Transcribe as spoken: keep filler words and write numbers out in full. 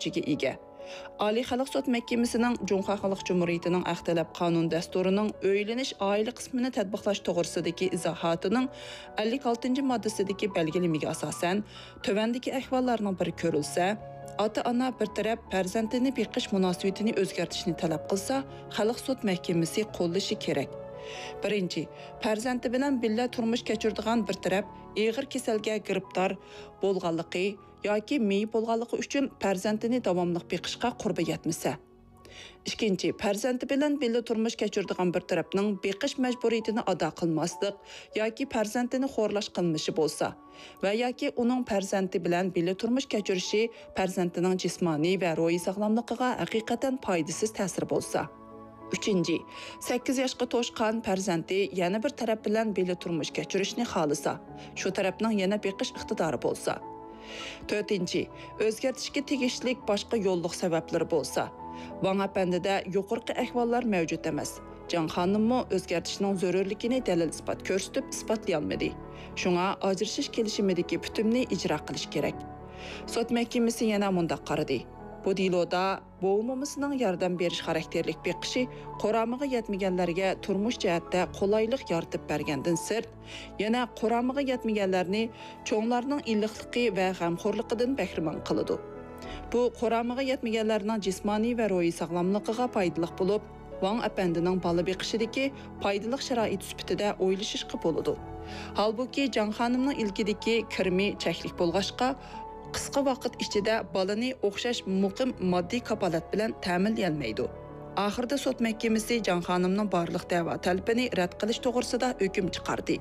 كۈچىگە ئىگە. ئالىي خەلق سوت مەھكىمىسىنىڭ جۇڭخۇا خەلق جۇمھۇرىيىتىنىڭ ئەخلەت قانۇن دەستۇرىنىڭ ئۆيلىنىش ئائىلە قىسمىنى تەتبىقلاش توغرىسىدىكى ئىزاھاتىنىڭ ئەللىك ئالتىنچى ماددىسىدىكى بەلگىلىمىگە ئاساسەن، تۆۋەندىكى ئەھۋاللارنىڭ بىرى كۆرۈلسە، ئاتا-ئانا بىر تەرەپ پەرزەنتىنى بېقىش مۇناسىۋىتىنى ئۆزگەرتىشنى تەلەپ قىلسا، خەلق سوت مەھكىمىسى قوللىشى كېرەك. بىرىنچى، پەرزەنتى بىلەن بىللە تۇرمۇش كەچۈرىدىغان بىر تەرەپ ئېغىر كېسەلگە گىرىپتار بولغانلىقى ياكى مېيىپ بولغانلىقى ئۈچۈن پەرزەنتىنى داۋاملىق بېقىشقا قۇربى يەتمىسە. ئىككىنچى، پەرزەنتى بىلەن بىللە تۇرمۇش كەچۈرىدىغان بىر تەرەپنىڭ بېقىش مەجبۇرىيىتىنى ئادا قىلماسلىق ياكى پەرزەنتىنى خورلاش قىلمىشى بولسا ۋە ياكى ئۇنىڭ پەرزەنتى بىلەن بىللە تۇرمۇش كەچۈرۈشى پەرزەنتىنىڭ جىسمانىي ۋە روھىي ساغلاملىقىغا ھەقىقەتەن پايدىسىز تەسىرى بولسا. ئۈچىنچى، سەككىز ياشقا توشقان پەرزەنتى يەنە بىر تەرەپ بىلەن بىللە تۇرمۇش كەچۈرۈشنى خالىسا، شۇ تەرەپنىڭ يەنە بېقىش ئىقتىدارى بولسا. تۆتىنچى، ئۆزگەرتىشكە تېگىشلىك باشقا يوللۇق سەۋەبلىرى بولسا. ۋاڭ ئەپەندىدە يۇقىرىقى ئەھۋاللار مەۋجۇت ئەمەس. جاڭ خانىممۇ ئۆزگەرتىشنىڭ زۆرۈرلۈكىنى دەلىل-ئىسپات كۆرسىتىپ ئىسپاتلىيالمىدى. شۇڭا ئاجرىشىش كېلىشىمىدىكى پۈتۈمنى ئىجرا قىلىش كېرەك. سوت مەھكىمىسى يەنە مۇنداق قارىدى. بۇ دېلودا بوۋا-مومىسىنىڭ ياردەم بېرىش خاراكتېرلىك بېقىشى قۇرامىغا يەتمىگەنلەرگە تۇرمۇش جەھەتتە قولايلىق يارىتىپ بەرگەندىن سىرت، يەنە قۇرامىغا يەتمىگەنلەرنى چوڭلارنىڭ ئىللىقلىقى ۋە غەمخورلۇقىدىن بەھرىمەن قىلىدۇ. بۇ قۇرامىغا يەتمىگەنلەرنىڭ جىسمانىي ۋە روھىي ساغلاملىقىغا پايدىلىق بولۇپ، ۋاڭ ئەپەندىنىڭ بالا بېقىشىدىكى پايدىلىق شارائىت سۈپىتىدە ئويلىشىشقا بولىدۇ. ھالبۇكى، جاڭ خانىمنىڭ ئىلكىدىكى كىرىمى چەكلىك بولغاچقا، قىسقا ۋاقىت ئىچىدە بالىنى ئوخشاش مۇقىم ماددىي كاپالەت بىلەن تەمىنلىيەلمەيدۇ. ئاخىرىدا سوت مەھكىمىسى جاڭ خانىمنىڭ بارلىق دەۋا تەلىپىنى رەت قىلىش توغرىسىدا ھۆكۈم چىقاردى.